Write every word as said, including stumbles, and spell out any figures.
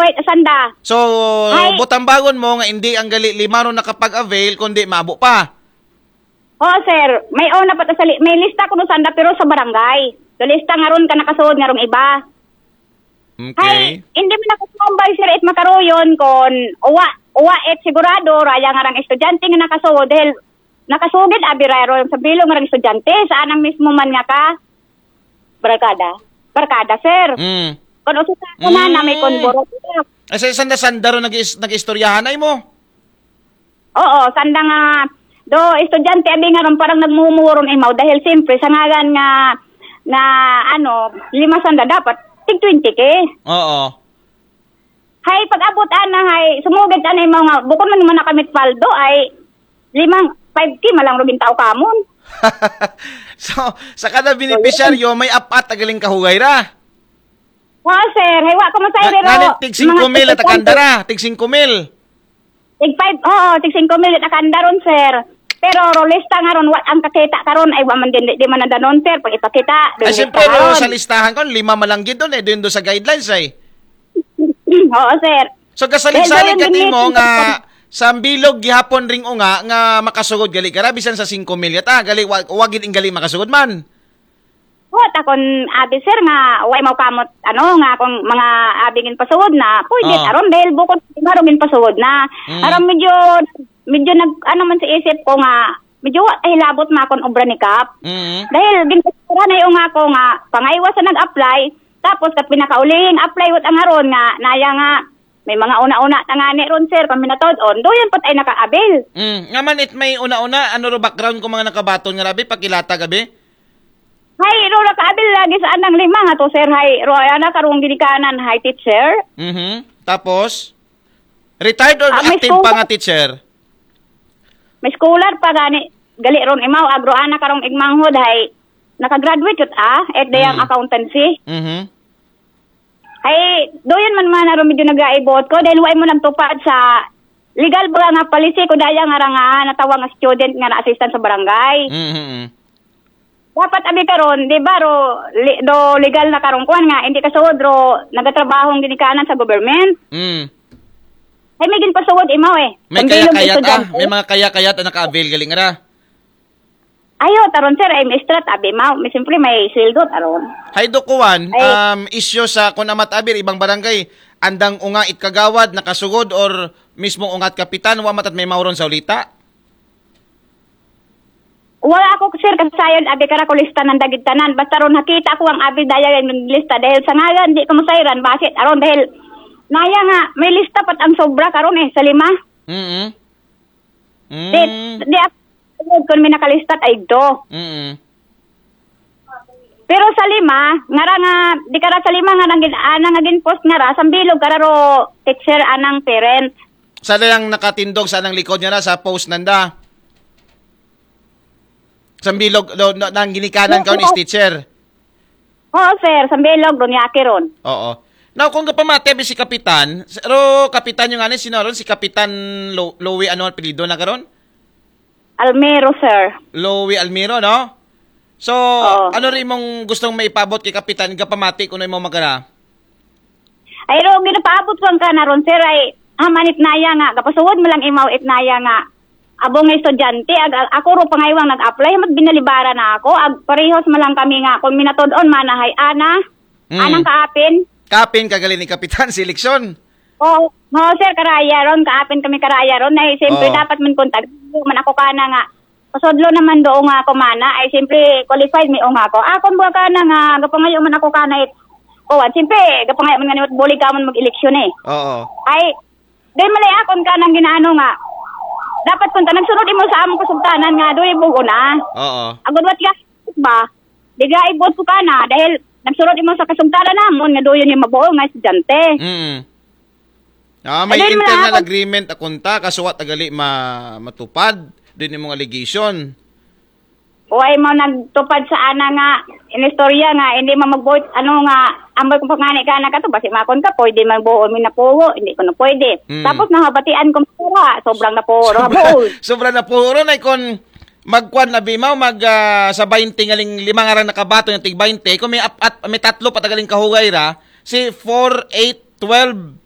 Ay, sanda. So, Ay. Butambagon mo nga hindi ang gali lima ron nakapag-avail, kundi mabo pa. Oo, sir. May una pa ta sa li- may lista kuno sanda pero sa barangay. So lista nga ron ka nakasuod nga rong iba. Okay. Hay, hindi man ako tambay, sir, it makaruyon kon uwa, uwa it sigurado, raya nga rang estudyante nga nakasuod, dahil nakasugid, abi raya ron sa bilog nga rang estudyante, saan ang mismo man nga ka? Barkada. Barkada, sir. Mm. Kon ususa ko na, na may Mm. konboro. Ay, sa sanda-sanda ron nag-is- nag-istoryahan ay mo? Oo, sanda nga, do, estudyante, abi nga ron, parang nagmumuron imaw, dahil siyempre, sa ngagan nga, nga, ano, lima sanda dapat, tig twenty K. Oo. Hay, pag-abot ana, hay, sumugid ana imaw nga, bukod man man nakamit paldo, ay, limang, five K malang rugin tao kamon. So, sa kada benepisyaryo, may apat agaling kahugay ra. Wa, sir, hay, wa ko masayri ro. Nga tig singko mil at akanda ra, tig singko mil. Tig five, oo, tig singko mil at akanda ron, sir. Pero rolista nga ron, wa ang kakita karon, ay, wa man din, di man nadanon, sir, pag ipakita. Ay, siyempre, ro, sa listahan ko, lima malanggit doon eh, doon doon sa guidelines ay. Oo, sir. So, kasalig-salig ka mo nga sa bilog gihapon ring unga nga makasugod gali ka ra, bisan sa singko mil yata, gali, wa- wagid ing gali makasugod man. Wa ta kon abi, sir, nga way mao kamot, ano, nga kung mga abi gin pasugod na, pwede Ah. aron dahil bukod nga ron gin pasugod na. Mm. Aron medyo, medyo nag, ano man sa isip ko nga, medyo wa ta hilabot makon obra ni Kap. Mm. Dahil gin pasugod na yung ako nga, pangaywa sa nag-apply, tapos kat pinakaulihing apply, wat ang aron nga, naya nga, may mga una-una tangani ron, sir, paminatod, on, doon pat ay nakaabil. Mm. Nga man it may una-una, ano ro background ko mga nakabaton nga rabi, pakilata gabi? Hay, ro nakaabil lagi sa anang lima nga to, sir, hay, ro, ay, ana, karong ginikanan, hay, teacher. Mhm. Tapos, retired or Ah, may active pa school- nga teacher? May scholar pa gani, gali ron imaw, agro ana karong igmanghod, hay, nakagraduate yun, ah, at dayang Mm. accountancy. Mhm. Hay, doon man man aron medyo nagaibot ko, dahil way mo nagtupad sa legal ba nga policy ko daya nga ra nga natawag nga student nga na-assistant sa barangay. Mhm. Dapat abi karon, di ba, ro, li, do legal na karon kuan nga, hindi ka suod, ro, nagatrabahong ginikanan sa government. Mm. Ay, may ginpasuod imaw eh. May Ang bilog kaya-kayat, ah. estudyante. May mga kaya-kayat ang naka-avail galing ra. Ayo, taron, sir, ay may strat, abi, mao. May, siyempre, may sweldo, taron. Hay do kuwan, Ay. um, issue sa kun amat abir, ibang barangay, andang unga it kagawad, nakasugod, or mismo ungat kapitan, wa matat may mauron sa ulita? Wala ako, sir, kasayod, abi, kara ko lista ng dagit tanan. Basta ron, nakita ko ang abi, daya yung lista. Dahil sa ngalan, di ko masayran, basit, aron, dahil, naya nga, may lista pat ang sobra karon eh, sa lima. Mm-mm. Di, Mm. di ako, kung may nakalistat ay do. Mm-mm. Pero sa lima, nga ra nga, di kara sa lima nga nang gin, ah, nang gin post nga ra, sambilog kara ro teacher anang parent. Sa dayang nakatindog sa anang likod nga na sa post nanda. Sambilog, do, no, nang ginikanan ka is teacher. Oo, sir, sambilog, ron yaki ron. Oo. Now, kung kapamati abi si Kapitan, pero Kapitan yung ano, sino ron? Si Kapitan Lo, Louie, ano ang apelyido na karon? Almero, sir. Louie Almiro, no? So, Oo. Ano rin mong gustong maipabot kay Kapitan, kapamati kung ano yung mga magara? Ay, ro, ginapaabot ko ang kanaron, sir, ay, haman itnaya nga, kapasuod mo lang imaw itnaya nga, abong nga estudyante, ag, ag, ako ro pangaywang nag-apply, hamat binalibara na ako, ag, parehos mo lang kami nga, kung minatod-on, manahay, ana, Mm. anang kaapin, Kapin kagali ni Kapitan si eleksyon. Oo, oo, sir, karaya ron, kaapin kami karaya ron. Ay, siyempre, Oo. Dapat man kontag, man ako kana nga. Pasodlo naman doon nga ako mana. Ay, siyempre, qualified mi nga ako. Akon buwa kana nga, gapangayo man ako kana it. Kuwan, siyempre, gapangayo man nga ni bulig ka man mag-eleksyon eh. Oo. Ay, dahil malay akon ka nang ginaano nga. Dapat kung ta, nagsunod imo sa among kasugtanan nga, doy bugo na. Oo. Agod wat ka, ba? Di ga ibot ko kana, dahil nagsunod imo sa kasugtanan namon nga doon yung mabuo nga estudyante. Mm. Ah, may Ayun, wala internal ako. Agreement akunta, kasuwat agali ma matupad din yung mga allegation. O ay mo nagtupad sa ana nga inistorya nga hindi man magbuot, ano nga, amboy kung pangani ka na kato, basi makon ka, pwede man buo, may napuwo, hindi ko na pwede. Mm. Tapos nabatian ko, sobra, sobrang napuwo, buo. Sobra na puro na kon magkuan na bimaw, mag ah, sa twenty ngaling lima nga rang nakabato yung tig twenty, kung may apat, may tatlo pa tagaling kahugay ra, si four, eight, twelve,